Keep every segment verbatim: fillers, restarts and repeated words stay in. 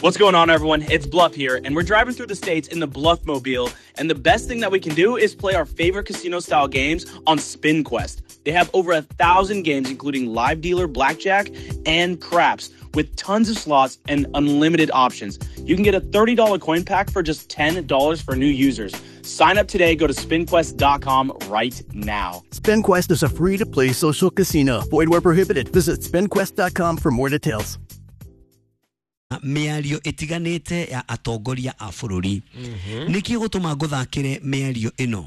What's going on, everyone? It's Bluff here, and we're driving through the states in the Bluff Mobile. And the best thing that we can do is play our favorite casino style games on SpinQuest. They have over a thousand games, including live dealer, blackjack, and craps, with tons of slots and unlimited options. You can get a thirty dollar coin pack for just ten dollars for new users. Sign up today. Go to spin quest dot com right now. SpinQuest is a free-to-play social casino. Void where prohibited. Visit spin quest dot com for more details. Mĩario ĩtiganĩte ya atongoria a bũrũri. Nĩkĩ gũtũma ngũthakĩre mĩario ĩno?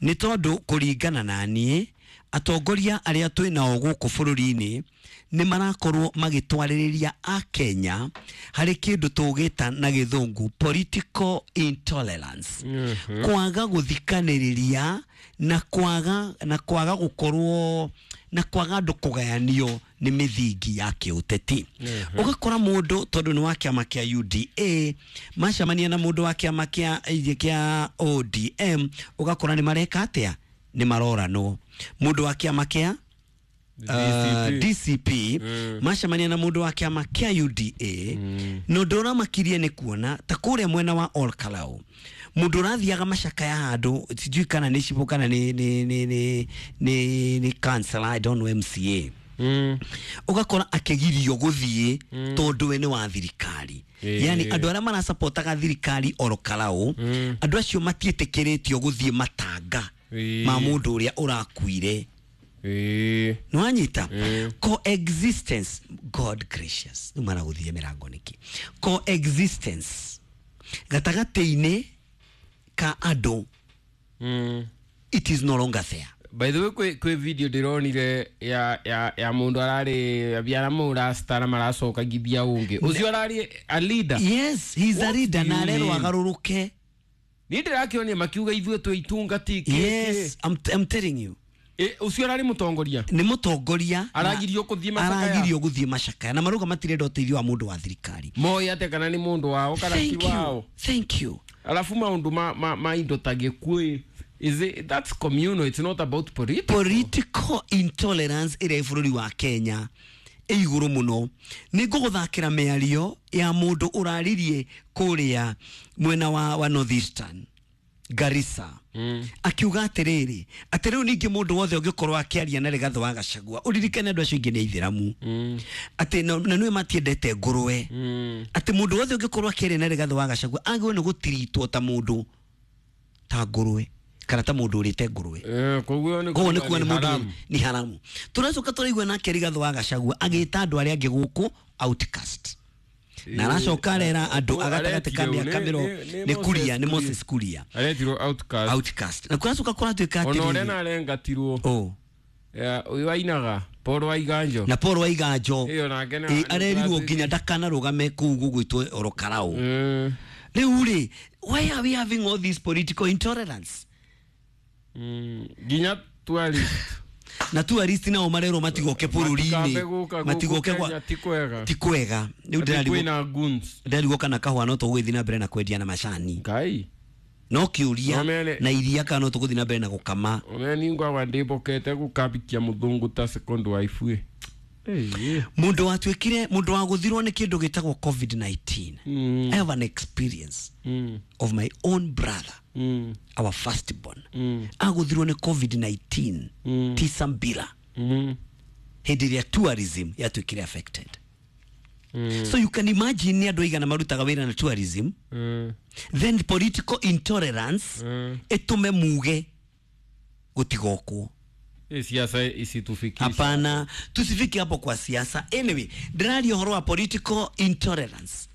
Nĩ tondũ kũringana na niĩ, atongoria arĩa twĩ nao gũkũ bũrũri-inĩ nĩ marakorwo magĩtwarĩrĩria Akenya harĩ kĩndũ tũgĩta na gĩthũngũ political intolerance. Kwaga gũthikanĩrĩria na kwaga, na kwaga gũkorwo na kwaga andũ kũgayanio nĩ mĩthingi ya kĩũteti. Ũgakora mũndũ tondũ nĩ wa kĩama kĩa U D A macemania na mũndũ wa kĩama kĩa, kĩa O D M, ũgakora nĩ mareka atĩa? Nĩ maroranwo. Mũndũ wa kĩama kĩa D C P. Uh, D C P, Mm. macemania na mũndũ wa kĩama kĩa U D A, Mm. na ũndũ ũramakirie nĩ kuona ta kũrĩa mwena wa Ol Kalou mũndũ ũrathiaga macakaya handũ sijui kana nĩ cibũ kana nĩ, nĩ, nĩ, nĩ, nĩ, nĩ councillor, I don't know, M C A. Mm. Ũgakora akĩgirio gũthiĩ Mm. tondũ we nĩ wa thirikari. Ĩĩ. Yani andũ arĩa marasapotaga thirikari Ol Kalou, Mm. andũ acio matiĩtĩkĩrĩtio gũthiĩ matanga Ĩĩ. ma mũndũ ũrĩa ũrakuire. Ĩĩ. Nĩwanyita? Ĩĩ. Coexistence, God gracious. Rĩu maragũthiĩ mĩrango nĩkĩ? Coexistence gatagatĩ-inĩ ka andũ, Mm. it is no longer there. By the way, kwe, kwe video ndĩronire ya, ya, ya mũndũ ararĩ abiara mũrasta na maracoka ngithia ũngĩ. Ũcio ararĩ a leader. Yes, he is a What leader do na you arerwo mean? agarũrũke. Niĩ ndĩrakĩonia makiuga ithuĩ twĩ itungati kĩ, Yes, kĩ. I'm, I'm telling you. E, ũcio ararĩ mũtongoria? Nĩ mũtongoria na Aragirio gũthiĩ macakaya? Aragirio gũthiĩ macakaya. Na marauga matirenda ũteithio wa mũndũ wa thirikari. Moĩ atĩa kana nĩ mũndũ wao kana ti Thank you. wao? Thank you. Alafu maũndũ ma, ma, ma indo ta gĩkuũ, is it, that's communal, it's not about political. Political intolerance ĩrĩa ĩ bũrũri wa Kenya ĩ igũrũ mũno. Nĩ ngũgũthakĩra mĩario ya mũndũ ũraririe kũrĩa mwena wa, wa Northeastern Garissa. Mm. Akiuga atĩrĩrĩ, atĩ rĩu ningĩ mũndũ wothe ũngĩkorwo akĩaria na Rigathĩ wa Gachagua, ũririkane andũ acio aingĩ nĩ aithĩramu. Mm. Atĩ na, na nĩwe matiendete ngũrwe. Mm. Atĩ mũndũ wothe ũngĩkorwo akĩaria na Rigathĩ wa Gachagua agĩrĩirwo nĩ gũtiritwo ta mũndũ ta ngũrwe kana ta mũndũ ũrĩte ngũrwe. Eh, koguo nĩ Koguo nĩ kuga kuga nĩ nĩ mũndũ haramu. nĩ haramu. Tũracoka tũraigua nake Rigathĩ wa Gachagua agĩta andũ arĩa angĩ gũkũ outcast. Na aracoka arera andũ Oh, agatagatĩ ka aretirwo mĩaka nĩ- mĩrongo nĩ- nĩ nĩ Kuria, nĩ Moses Moses Kuria. Aretirwo outcast. Outcast. Na kũracoka kũratuĩka Ona ũrĩa atĩrĩrĩ. narengatirwo. Oh. Ya, ũyũ wainaga, Paul Waiganjo. Na Paul Waiganjo. Ĩyo nake nĩ Ĩ, nĩ arerirwo kũratuĩka. nginya ndakanarũgame kũu gũgwĩtwo Ol Kalou. Mm. Rĩu rĩ, why are we having all this political intolerance? Mm. Nginya tourist. Na tourist nao marerwo matigoke bũrũri-inĩ. Matikambe gũka gũkũ Matigoke gwa- Kenya, ti kwega. Ti kwega. Rĩu Atĩ ndĩrarigwo kwĩna goons. ndĩrarigwo kana kahũa no tũgũgĩthiĩ na mbere na kwendia na macani. Ngai. No kĩũria No mene- na iria kana no tũgũthiĩ na mbere na gũkama. One ningwa ndĩmbokete gũkambikia mũthũngũ ta second wife ĩ. Ĩĩ. Mũndũ watuĩkire, mũndũ wagũthirwo nĩ kĩndũ gĩtagwo COVID nineteen. Mm. I have an experience Mm. of my own brother, Mm. our firstborn. Mm. Agũthirwo nĩ COVID nineteen Mm. Tisambira. Mm. Hĩndĩ ĩrĩa tourism yatuĩkire affected. Mm. So you can imagine nĩ andũ aigana marutaga wĩra na tourism. Mm. Then political intolerance Mm. ĩtũme muge gũtigokwo. Ĩ, siasa isitufikishe. Hapana, tusifike hapo kwa siasa. Anyway, ndĩraria ũhoro wa political intolerance.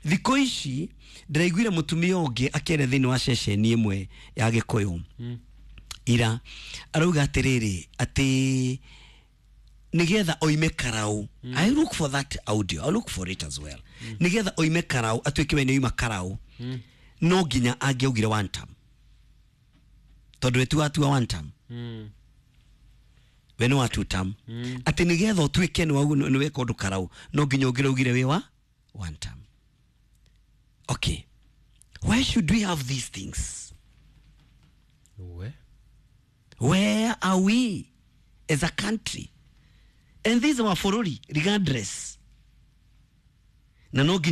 Thikũ ici ndĩraiguire mũtumia ũngĩ akĩaria thĩinĩ wa ceceni ĩmwe ya Gĩkũyũ. Mm. Ira arauga atĩrĩrĩ, atĩ nĩgetha oime karau. Mm. I look for that audio. I look for it as well. Mm. Nĩgetha oime karau, atuĩke we nĩ oima karau. Mm. No nginya angĩaugire one term. Tondũ we ti watua one term. Mm. We nĩ wa two term. Mm. Atĩ nĩgetha ũtuĩke nĩ wau-, nĩ weka ũndũ karau, no nginya ũngĩraugire wĩ wa one term. Okay. Why should we have these things? We? Where are we as a country? And this is our bũrũri regardless. Na no nginya